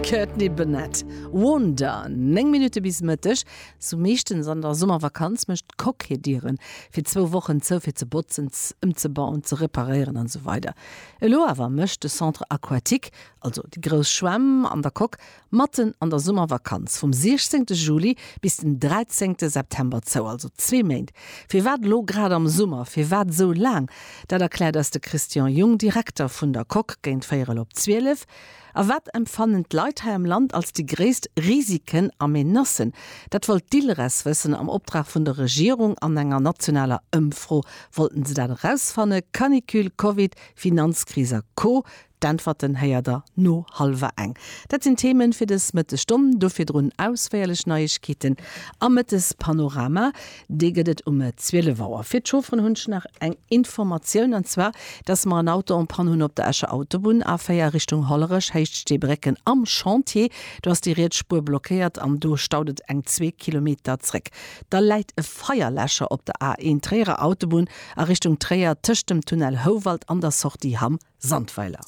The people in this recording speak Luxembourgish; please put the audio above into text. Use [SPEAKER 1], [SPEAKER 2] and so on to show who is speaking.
[SPEAKER 1] Courtney Burnett, Wonder. 9 Minutte bis Mëtteg. Sou meeschtens an der Summervakanz mécht d'Coque hir Dieren fir zwou Wochen zou fir ze botzen, ëmzebauen, ze reparéieren an esou weider. Elo awer mécht de Centre Aquatique, also déi grouss Schwämm an der Coque, matten an der Summervakanz vum 16 Juli bis den 13 September zou, also zwee Méint. Firwat elo grad am Summer? Firwat esou laang? Dat erkläert eis de Christian Jung, Direkter vun der Coque, géint véierel op 12. A wat empfannen d'Leit hei am Land als déi gréisst Risiken a Menacen? Dat wollt d'ILRES wëssen. Am Optrag vun der Regierung an enger nationaler Ëmfro wollten se dat erausfanne. Canicule, Covid, Finanzkris a Co. D'Äntwerten héiert der no hallwer eng. Dat sinn d'Themen fir dës Mëttesstonn. Do virdrun ausféierlech Neiegkeeten am Mëttespanorama. Dee gëtt et um 12 Auer. Fir d'Chaufferen hunn ech nach eng Informatioun, an zwar, dass mer en Auto en panne hunn op der Escher Autobunn, A4 Richtung Hollerech, Héicht Steebrécken am Chantier. Do ass déi riets Spuer blockéiert an do staut et eng zwee Kilometer zréck. Da läit e Feierläscher op der A1 Tréierer Autobunn a Richtung Tréier tëscht dem Tunnel Houwald an der Sortie Hamm Sandweiler.